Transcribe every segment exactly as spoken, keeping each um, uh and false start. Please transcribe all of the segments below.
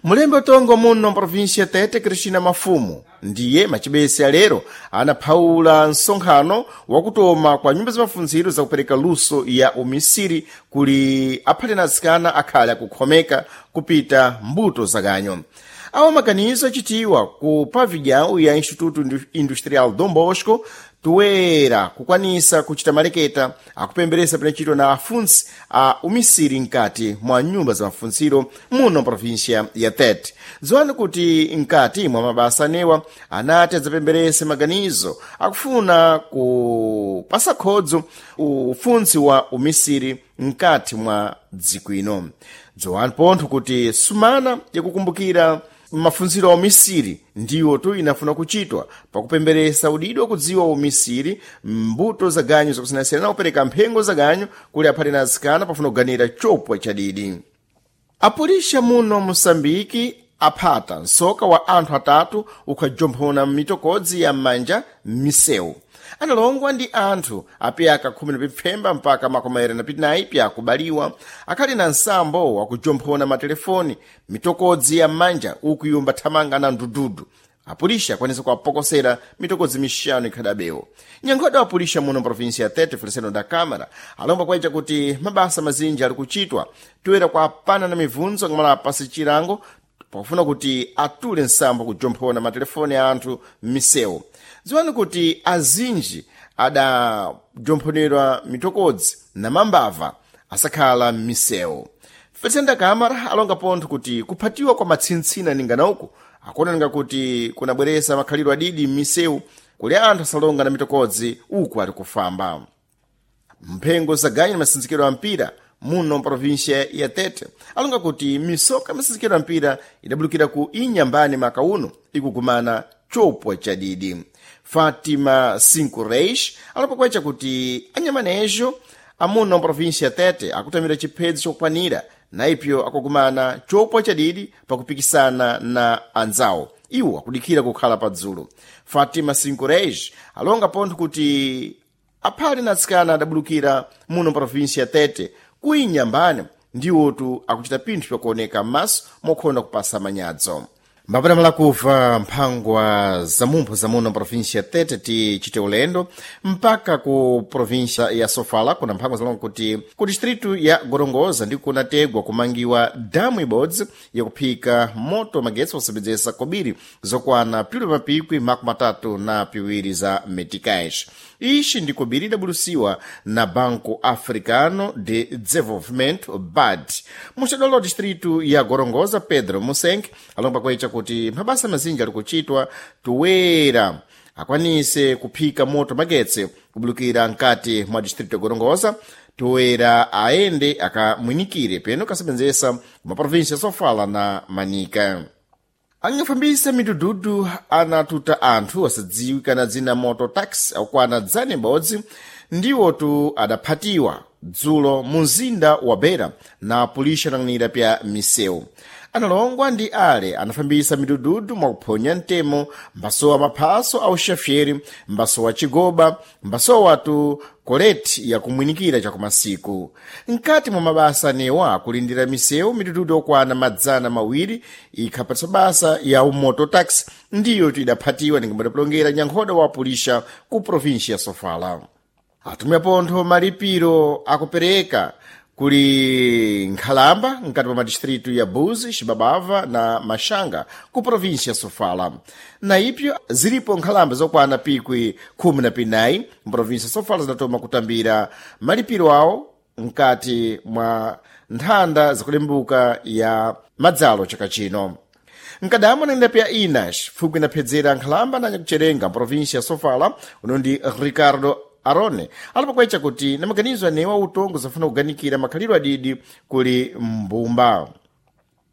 Mulembe utongo muno mprovinsia Tete, Cristina Mafumu, ndiye macibese alero anaphawula msonkhano wakutoma kwa nyumba za mafunziro zakupereka luso ya umisiri kuli aphati na atsikana akhale akukhomeka kupita mbuto zakanyo. Awo maganizo achitiwa ku pavilhão ya Instituto Industrial Dom Bosco toera kukwanisa kuchita maleketa akupemberesa pinachitwa na afuntsi a umisiri mkati mwa nyumba za mafuntsiro muno província ya Tete. Dziwani kuti mkati mwa mabasa anewa anati adzapemberese maganizo akufuna kupasa khodzo ufuntsi wa umisiri mkati mwa dziko ino. Dziwani pontho kuti sumana yakukumbukira mafunziro a umisiri ndiwo tu inafuna kuchitwa pakupemberesa udidwa kudziwa umisiri mbuto za ganyu zakusiyanasiyana na kupereka mphengo za ganyu kuli aphati na atsikana pafuna kuganira chopwa chadidi. Apulisha muno Moçambique aphata msoka wa anthu atatu ukhajomphona mitokodzi ya m'manja m'misewu. Analongwa ndi anthu apyaka khumi na pipfemba mpaka makumi awiri na pitinayi pyakubaliwa akhali na nsambo wakujomphona matelefoni mitokodzi ya m'manja ukuyumba thamanga na ndududu. Apulisha akwanisa kuwapokosera mitokodzi mixanu ikhadabewo. Nyankhoda wa apulisha muno mprovinsia ya Tete, Feliciano da Câmara, alomba kwaita kuti mabasa mazinji ali kuchitwa toera kuapana na mibvunzo ngamala apasi chilango pakufuna kuti atule nsambo kujomphona matelefoni a anthu m'misewu. Dziwani kuti azinji adajomphonerwa mitokodzi na mambava asakhala m'misewu. Feliciano da Câmara alonga pontho kuti kuphatiwa kwa matsintsina ningana uku akuoneka kuti kunabweresa makhalidwe adidi m'misewu kuli anthu asalonga na mitokodzi uku ali kufamba. Mphengo zaganyu na masinzikiro a mpira muno mprovinsia ya Tete alonga kuti misoka ya masinzikiro a mpira idabulukira ku Inyambani maka uno ikugumana chopwa chadidi. Fatima Cinco Reis alopakwecha kuti anyamanejo amuno mprovinsia ya Tete akutamira chiphedzo chokwanira na ipyo akugumana chopwa chadidi pakupikisana na anzawo iwo akudikhira kukhala padzulo. Fatima Cinco Reis alonga pontho kuti aphali na atsikana adabulukira muno mprovinsia ya Tete ku Inyambani ndiwotu akuchita pinthu pyakuoneka m'maso mokhonda kupasa manyadzo. Mbapatamala kuva mphangwa zamumpho zamuno mprovinsia ya Tete tichite ulendo mpaka ku província ya Sofala kuna mphangwa zalonga kuti ku distritu ya Gorongosa ndi kunategwa kumangiwa damu ibodzi yakuphika moto magetsi posebedzesa kobiri zokwana pilu mapikwi makumi atatu na piwiri za meticais. Ixi ndi kobiri idabulusiwa na Banco Africano de Desenvolvimento, B A D. Muxadolo wa distritu ya Gorongosa, Pedro Musenke, alomba kwecha kuti mabasa mazinji ali kuchitwa toera akwanise kuphika moto magetsi kubulukira mkati mwa distrito ya Gorongosa toera aende akamwinikire peno kasebenzesa kumaprovinsia Sofala na Manica. Angafambisa midududu anatuta anthu asadziwikana dzina moto taxi akukwana dzana ibodzi ndiwotu adaphatiwa dzulo mu mzinda wa Beira na pulisha anang'anira pya misewu. Analongwa ndi ale anafambisa midududu mwakuphonya mtemo mbasowa maphaso a uxafyeri, mbasowa chigoba, mbasowatu koleti yakumwinikira chakumasiku. Mkati mwa mabasa anewa akulindira misewu midududu okwana madzana mawiri ikhapatsa basa ya umoto taxi ndiyo idaphatiwa ningambatapulongera nyankhoda wa pulisha ku província ya Sofala. Atumwi apontho malipiro akupereka kuli nkhalamba mkati mwa madistritu ya Buzi, Xibabava na Maxanga ku província ya Sofala. Na ipyo zilipo nkhalamba zokwana pikwi khumi na pinayi mprovíncia ya Sofala zinatoma kutambira malipiro awo mkati mwa nthanda zakulembuka ya madzalo chaka chino. Mkadamo nenda pya Inas fuku inaphedzera nkhalamba na nyakucherenga mprovíncia ya Sofala uno ndi Ricardo Arone alipokwecha kuti na maganizo anewa utongo zafuna kuganikira makhalidwe adidi kuli mbumba.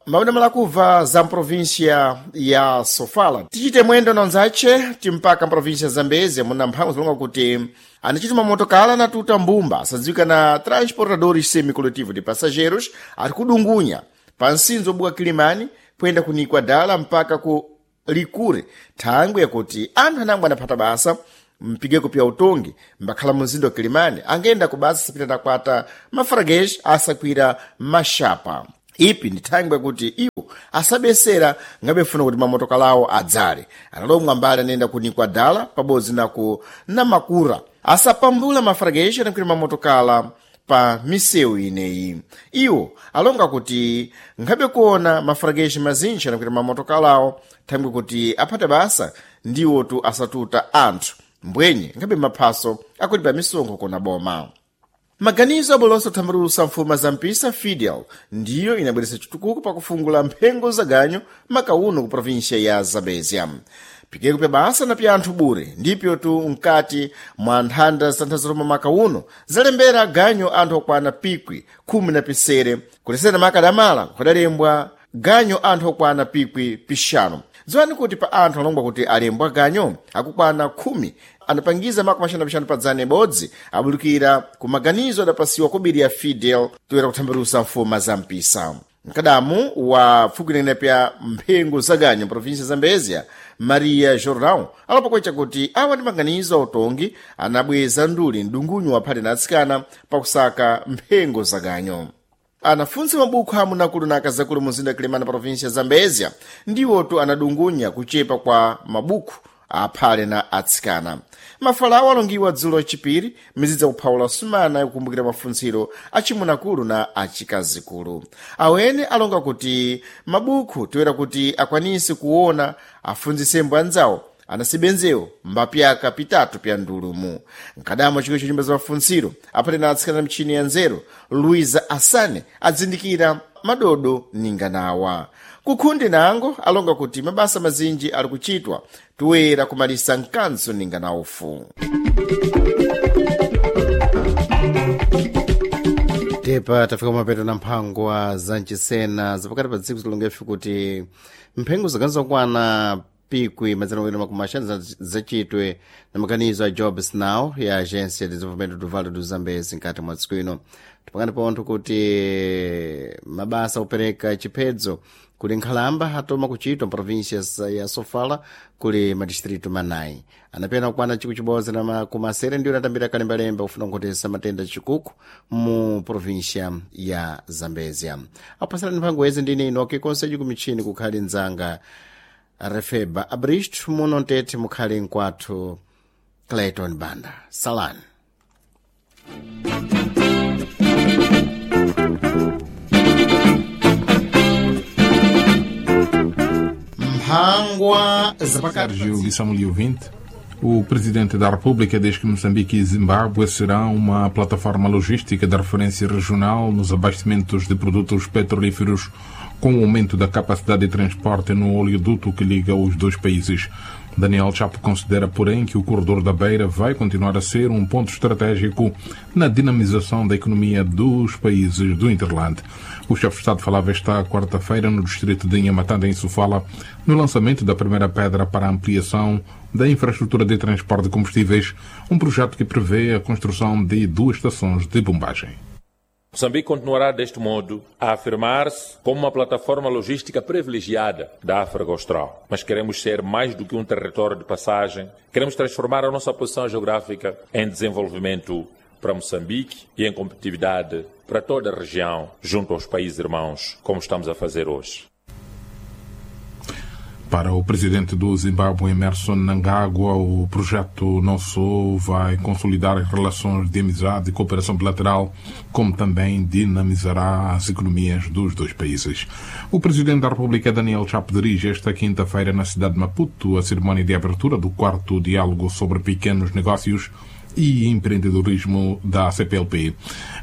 Mauna kubva za mprovíncia ya Sofala tichite mwendo na nzache timpaka mprovíncia ya Zambezia muna mphango zilonga kuti anachituma motokala anatuta mbumba asadziwika na Transportadores Semicoletivo de Passageiros ari kudungunya pa nsinzo obuka Kilimani kuyenda kunikwa dala mpaka ku Likure thangwe yakuti anthu anangwe anaphata basa mpigeko pya utongi mbakhala mumzinda wa Kilimani angenda ku basa sapita nakwata mafarageji asakwira maxapa. Ipi ndi thangwe yakuti iwo Asabesera ngabefuna kuti mamotokalawo adzale. Analomwa mbali anayenda ku Nikwadala pabodzi na ku Namakura asapambula mafrageshi anakwira mamotokala pa misewu ineyi. Iwo alonga kuti nkhabe kuona mafrageshi mazinji anakwira mamotokalawo thangwi kuti aphate basa ndiwotu asatuta anthu mbwenye nkhabe maphaso akulipa misonkho kuna boma. Maganizo abolosa kuthambalusa mfuma za mpisa Fidel ndiyo inabweretsa chitukuko pakufungula mphengo za ganyo makauno ku província ya Zambezia. Pikeko pya basa na pya anthu bure ndipyo tu mkati mwa nthanda za nthazaloma makauno zalembera ganyo anthu okwana pikwi khumi na pisere kulesera makadamala kudalembwa ganyo anthu okwana pikwi pixanu. Dziwani kuti pa anthu alongwa kuti alembwa ganyo akukwana khumi anapangiza makumi axanu na pixanu pa dzana ibodzi abulukira ku maganizo adapasiwa kobiri ya Fidel toera kuthambalusa mfuma za mpisa. Mkadamu wa pfukinene pya mphengo za ganyo província Zambezia Maria Jordão alapokwecha kuti awa ndi maganizo autongi anabweza nduli mdungunyu waphate na atsikana pakusaka mphengo za ganyo. Anafunsi mabukhu amunakulu na akazakulu muzinda Kilimana província Zambezia ndiwotu anadungunya kuchepa kwa mabukhu aphale na atsikana. Mafalawo alongiwa dzulo chipiri mizidza kuphawula sumana yakukumbukira mafuntsiro achimunakulu na achikazikulu. Awene alonga kuti mabukhu toera kuti akwanise kuona afunzisembo anzawo anasibenzewo mbapyaka pitatu pya ndulumu. Mkadamo chikolo cha nyumba za mafuntsiro aphate na atsikana na michini ya nzeru Luiza Asane adzindikira madodo ninganawa. Kukhundi nango alonga kuti mabasa mazinji ali kuchitwa toera kumalisa mkanzo ninganaufu. Tepa tafika mapeto na mphangwa za mchisena zapakati pa dziko zilongefe kuti mphengo zikanizokwana pikwi madzana awiri makumi axanu zacitwe na maganizo a Jobs Now ya agência de desenvolvimento do Vale do Zambezi nkati mwa dziko ino. Tipakani pontho kuti mabasa opereka chiphedzo kuli nkhalamba atoma kuchitwa mprovíncia ya Sofala kuli madistritu manayi. Anapena kukwana chikwi chibodzi na makumi asere ndiwo anatambira kalembalemba kufuna kukhotesa matenda chikuku mu província ya Zambezia. Apasirani mphango yezi ndine inoke konseji kumichini kukhali nzanga Refeba Abristo muno ntete mukhali nkwathu Clayton Banda. Salani. Mphangwa zapakati. Sérgio Guissamuli ouvinte, o Presidente da República diz que Moçambique e Zimbábue serão uma plataforma logística de referência regional nos abastecimentos de produtos petrolíferos, com o aumento da capacidade de transporte no oleoduto que liga os dois países. Daniel Chapo considera, porém, que o corredor da Beira vai continuar a ser um ponto estratégico na dinamização da economia dos países do hinterland. O chefe de Estado falava esta quarta-feira no distrito de Inhamatanda, em Sofala, no lançamento da primeira pedra para a ampliação da infraestrutura de transporte de combustíveis, um projeto que prevê a construção de duas estações de bombagem. Moçambique continuará, deste modo, a afirmar-se como uma plataforma logística privilegiada da África Austral. Mas queremos ser mais do que um território de passagem. Queremos transformar a nossa posição geográfica em desenvolvimento para Moçambique e em competitividade para toda a região, junto aos países irmãos, como estamos a fazer hoje. Para o presidente do Zimbábue, Emerson Mnangagwa, o projeto não só vai consolidar as relações de amizade e cooperação bilateral, como também dinamizará as economias dos dois países. O presidente da República, Daniel Chapo, dirige esta quinta-feira na cidade de Maputo a cerimónia de abertura do quarto diálogo sobre pequenos negócios e empreendedorismo da C P L P.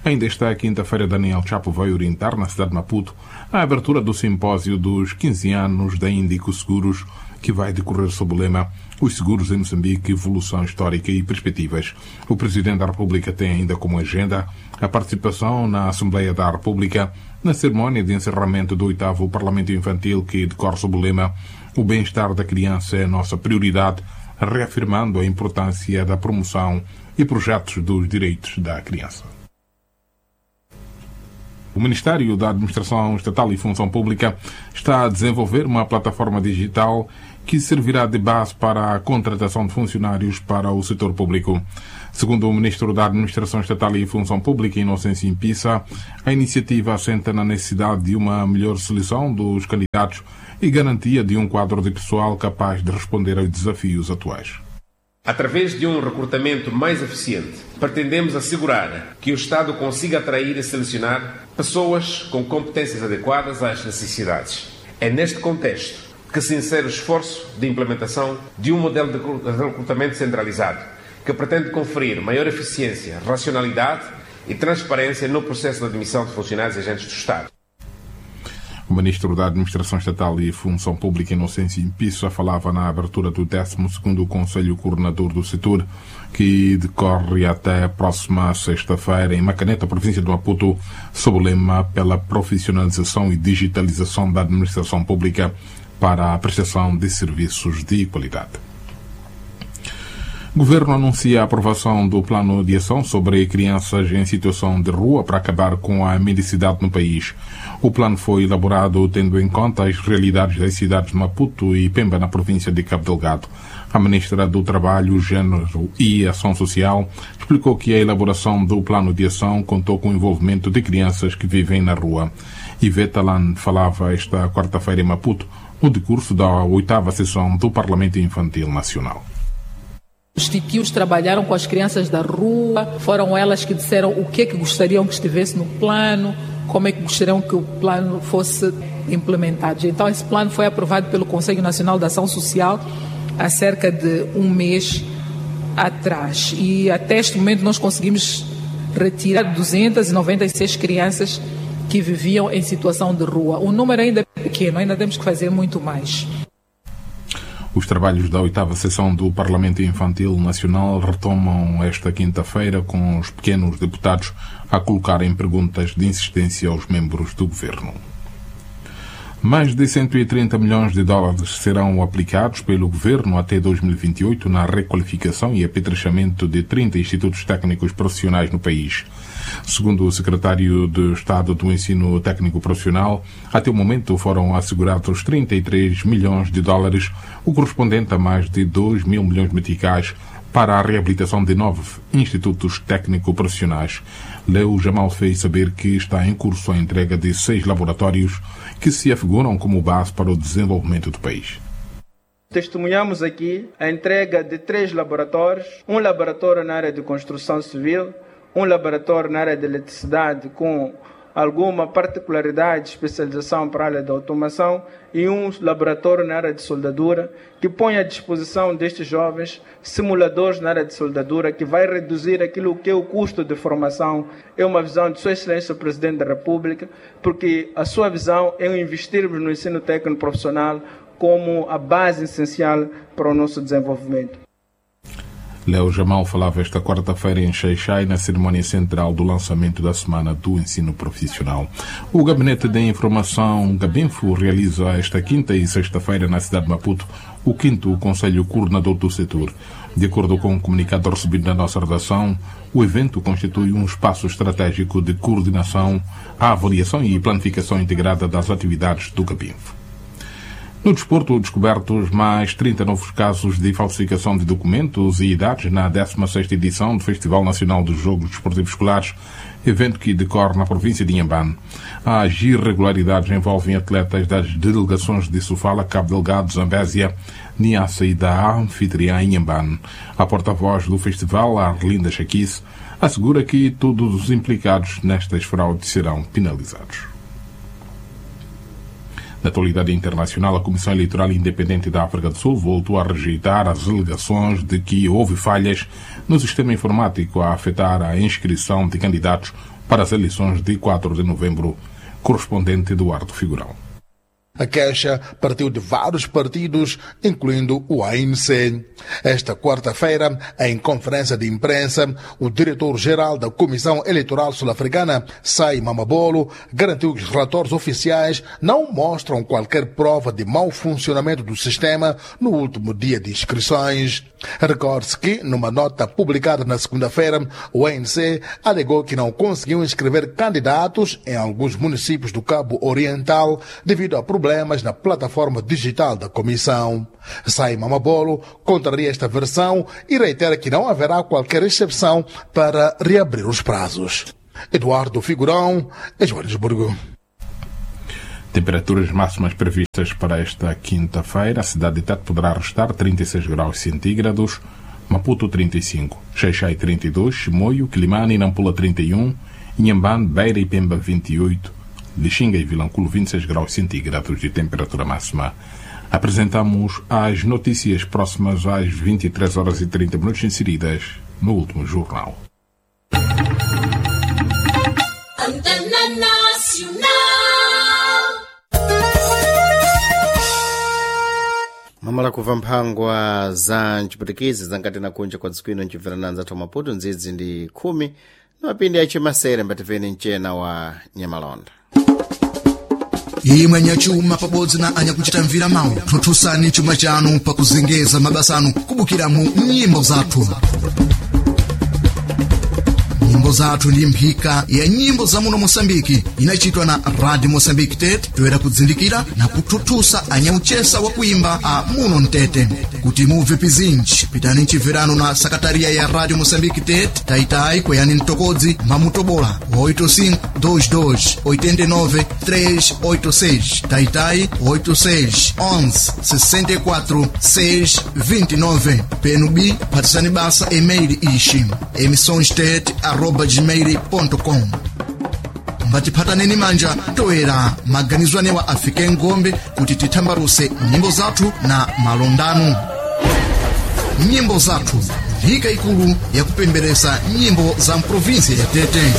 Ainda esta quinta-feira, Daniel Chapo vai orientar na cidade de Maputo a abertura do simpósio dos quinze anos da Índico Seguros, que vai decorrer sob o lema Os Seguros em Moçambique, Evolução Histórica e Perspectivas. O Presidente da República tem ainda como agenda a participação na Assembleia da República na cerimónia de encerramento do oitavo Parlamento Infantil, que decorre sob o lema O Bem-Estar da Criança é a Nossa Prioridade, reafirmando a importância da promoção e projetos dos direitos da criança. O Ministério da Administração Estatal e Função Pública está a desenvolver uma plataforma digital que servirá de base para a contratação de funcionários para o setor público. Segundo o Ministro da Administração Estatal e Função Pública, Inocêncio Impissa, a iniciativa assenta na necessidade de uma melhor seleção dos candidatos e garantia de um quadro de pessoal capaz de responder aos desafios atuais. Através de um recrutamento mais eficiente, pretendemos assegurar que o Estado consiga atrair e selecionar pessoas com competências adequadas às necessidades. É neste contexto que se insere o esforço de implementação de um modelo de recrutamento centralizado, que pretende conferir maior eficiência, racionalidade e transparência no processo de admissão de funcionários e agentes do Estado. O Ministro da Administração Estatal e Função Pública, Inocêncio Impissa, falava na abertura do décimo segundo Conselho Coordenador do Setor, que decorre até a próxima sexta-feira em Macaneta, província do Maputo, sob o lema pela profissionalização e digitalização da administração pública para a prestação de serviços de qualidade. O Governo anuncia a aprovação do Plano de Ação sobre crianças em situação de rua para acabar com a mendicidade no país. O plano foi elaborado tendo em conta as realidades das cidades de Maputo e Pemba, na província de Cabo Delgado. A Ministra do Trabalho, Gênero e Ação Social explicou que a elaboração do Plano de Ação contou com o envolvimento de crianças que vivem na rua. Iveta Lan falava esta quarta-feira em Maputo, no decurso da oitava sessão do Parlamento Infantil Nacional. Os titios trabalharam com as crianças da rua, foram elas que disseram o que é que gostariam que estivesse no plano, como é que gostariam que o plano fosse implementado. Então esse plano foi aprovado pelo Conselho Nacional de Ação Social há cerca de um mês atrás. E até este momento nós conseguimos retirar duzentas e noventa e seis crianças que viviam em situação de rua. O número ainda é pequeno, ainda temos que fazer muito mais. Os trabalhos da oitava sessão do Parlamento Infantil Nacional retomam esta quinta-feira com os pequenos deputados a colocarem perguntas de insistência aos membros do governo. Mais de cento e trinta milhões de dólares serão aplicados pelo governo até dois mil e vinte e oito na requalificação e apetrechamento de trinta institutos técnicos profissionais no país. Segundo o secretário de Estado do Ensino Técnico Profissional, até o momento foram assegurados trinta e três milhões de dólares, o correspondente a mais de dois mil milhões de meticais, para a reabilitação de nove institutos técnico-profissionais. Leo Jamal fez saber que está em curso a entrega de seis laboratórios que se afiguram como base para o desenvolvimento do país. Testemunhamos aqui a entrega de três laboratórios, um laboratório na área de construção civil, um laboratório na área de eletricidade com alguma particularidade de especialização para a área da automação e um laboratório na área de soldadura, que põe à disposição destes jovens simuladores na área de soldadura, que vai reduzir aquilo que é o custo de formação. É uma visão de Sua Excelência o Presidente da República, porque a sua visão é investirmos no ensino técnico profissional como a base essencial para o nosso desenvolvimento. Léo Jamal falava esta quarta-feira em Xai-Xai, na cerimónia central do lançamento da Semana do Ensino Profissional. O Gabinete de Informação Gabinfo realiza esta quinta e sexta-feira na cidade de Maputo o quinto Conselho Coordenador do Setor. De acordo com o comunicado recebido na nossa redação, o evento constitui um espaço estratégico de coordenação, avaliação e planificação integrada das atividades do Gabinfo. No desporto, descobertos mais trinta novos casos de falsificação de documentos e idades na décima sexta edição do Festival Nacional dos Jogos Desportivos Escolares, evento que decorre na província de Inhambane. As irregularidades envolvem atletas das delegações de Sofala, Cabo Delgado, Zambésia, Niassa e da anfitriã Inhambane. A porta-voz do festival, Arlinda Chaquice, assegura que todos os implicados nestas fraudes serão penalizados. Na atualidade internacional, a Comissão Eleitoral Independente da África do Sul voltou a rejeitar as alegações de que houve falhas no sistema informático a afetar a inscrição de candidatos para as eleições de quatro de novembro. Correspondente Eduardo Figurão. A queixa partiu de vários partidos, incluindo o A N C. Esta quarta-feira, em conferência de imprensa, o diretor-geral da Comissão Eleitoral Sul-Africana, Sai Mamabolo, garantiu que os relatórios oficiais não mostram qualquer prova de mau funcionamento do sistema no último dia de inscrições. Recorde-se que, numa nota publicada na segunda-feira, o A N C alegou que não conseguiu inscrever candidatos em alguns municípios do Cabo Oriental devido a problemas problemas na plataforma digital da comissão. Saima Mabolo contraria esta versão e reitera que não haverá qualquer exceção para reabrir os prazos. Eduardo Figurão, Joanesburgo. Temperaturas máximas previstas para esta quinta-feira. A cidade de Tete poderá restar trinta e seis graus centígrados, Maputo trinta e cinco, Xaixai trinta e dois, Chimoio, Quilimane e Nampula trinta e um, Inhambane, Beira e Pemba vinte e oito, Lixinga e Vilanculo vinte e seis graus centígrados de temperatura máxima. Apresentamos as notícias próximas às vinte e três horas e trinta minutos inseridas no último jornal. Antena Nacional. Mamala kuva mphangwa za mchiputikizi zankati na kunja kwa dziko ino ncibvera anzathu Maputo ndzidzi ndi khumi na mapindi achimasere mbativeni mchena wa nyamalonda. Imwe anyachuma pabodzi na anyakuchita mvira mawu thuthusani chuma chanu pakuzengeza mabasa anu kubukiramu nyimbo zathu. Nyimbo zathu ndi mphika ya nyimbo za muno Moçambike inachitwa na Radio Moçambique Tete toera kudzindikira na kuthuthusa anyauchesa wa kuimba a muno mtete. Kuti mubve pizinji pitani mchibverano na sakataria ya Radio Moçambique Tete taitai kweyani mtokodzi mamutobola oito cinco dois dois oitenta e nove três oito seis taitai oito seis onze sessenta e quatro seis vinte e nove P N B phatisani basa e-mail ixi emissõestete arroba gmail ponto com. Mbatiphataneni manja toera maganizo anewa afike ngombe kuti tithambaruse nyimbo zathu na malondano. Nyimbo zathu nthika ikulu yakupemberesa nyimbo za mprovinsi ya Tete.